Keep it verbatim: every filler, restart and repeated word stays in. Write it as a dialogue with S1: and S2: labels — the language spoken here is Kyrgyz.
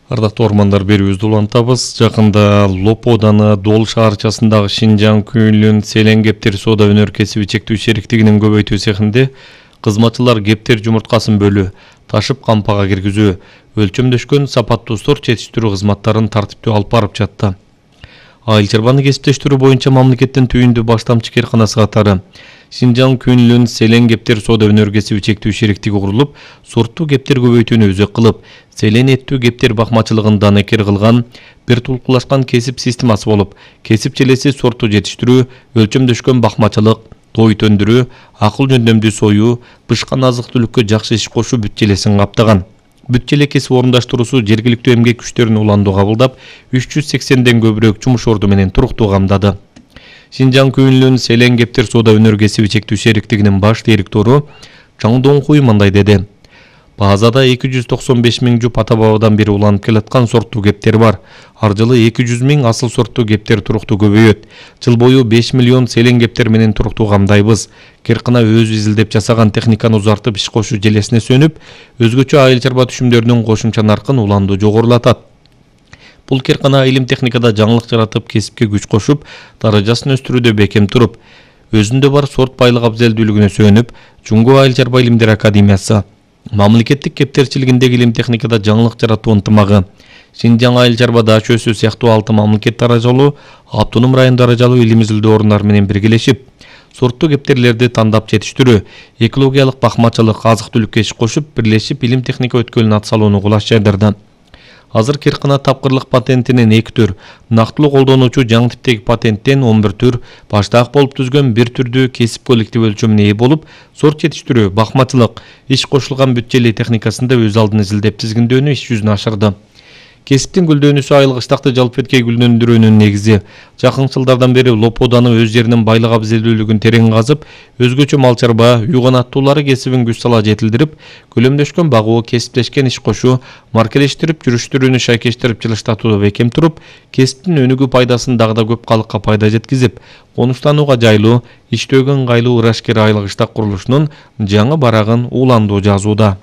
S1: Ардактуу ормандар берүүбүздү улантабыз. Жакында Лопо ауданы Дол шаарчасындагы Шинжаң Күнлүн Селен Кептер соода өнөркәсиби чектүү шериктигинин көбөйтүү цехинде кызматчылар кептер жумурткасын бөлүү, ташып кампага киргизүү, өлчөмдөшкөн сапаттуу сорт жетиштирүү кызматтарын тартиптүү алып барып жатты. Айыл чарбаны кесиптештирүү боюнча мамлекеттин түйүндүү баштамчы кээрканасы катары Шинжаң Күнлүн Селен Кептер соода өнөркәсиби чектүү шериктиги курулуп, сорттуу кептер көбөйтүүнү өзөк кылып, селен эттүү кептер бакмачылыгын данекер кылган бир тулкулашкан кесип системасы болуп, кесип челеси сортту жетиштирүү, өлчөмдөшкөн бакмачылык, тойут өндүрүү, акыл жөндөмдүү союу, бышкан азык-түлүккө жакшы иш кошуу бүт челесин каптаган. Бүт челе кесип орундаштыруусу жергиликтүү эмгек күчтөрүн уландуу кабылдап, үч жүз сексенден көбүрөөк жумуш орду менен туруктуу камдады. Шинжаң Күнлүн Селен Кептер соода өнөркәсиби чектүү шериктигинин баш директору Чаң Доңкуй мындай деди. Базада эки жүз токсон беш миң жуп ата-бабадан бери уланып келаткан сорттуу кептер бар. Ар жылы эки жүз миң асыл сорттуу кептер туруктуу көбөйөт. Жыл бою беш миллион селен кептер менен туруктуу камдайбыз. Керкана өз изилдеп жасаган техниканы узартып иш кошуу желесине сөнүп, өзгөчө айыл чарба түшүмдөрүнүн кошумча наркын уланду жогорулатат. Бул керкана илим техникада жаңылык жаратып, кесипке күч кошуп, даражасын өстүрүүдө бекем туруп, өзүндө бар сорт байлык абзелдүүлүгүнө сүйөнүп, Жуңго айыл чарба илимдер академиясы, мамлекеттик кептерчилигиндеги илим техникада жаңылык жаратуу ынтымагы, Шинжаң айыл чарба дачөсү сыяктуу алты мамлекет даражалуу, автоном район даражалуу илим изилдөө орундар менен биргелешип, сорттуу кептерлерди тандап жетиштирүү, экологиялык бакмачылык, азык-түлүккө иш кошуп, бирлешип илим техника өткөлүн атсалууну кулаш жайдырды. Азыр керкана тапкырлык патентинен эки түр, нактылуу колдонуучу жаңы типтеги патенттен он бир түр, баштаак болуп түзгөн бир түрдүү кесип коллектив өлчөмүнө ээ болуп, сорт жетиштирүү, бакмачылык, иш кошулган бүт челе техникасында өз алдын изилдеп тизгиндөөнү иш жүзүнө ашырды. Кесиптин гүлдөнүүсү айыл кыштакты жалпыеткей гүлдөндүрүүнүн негизи. Жакын жылдардан бери Лопо ауданы өз жеринин байлык абзелдүүлүгүн терең казып, өзгөчө мал чарба, үй канаттуулары кесибин күч сала жетилдирип, көлөмдөшкөн багуу, кесиптешкен иш кошуу, маркелештирип, жүрүштүрүүнү шайкештирип жылыштатууга бекем туруп, кесиптин өнүгүү пайдасын дагы да көп калыкка пайда жеткизип, конуштанууга жайлуу, иштөөгө ыңгайлуу Ырашкер айыл кыштак курулушунун жаңы барагын уландуу жазууда.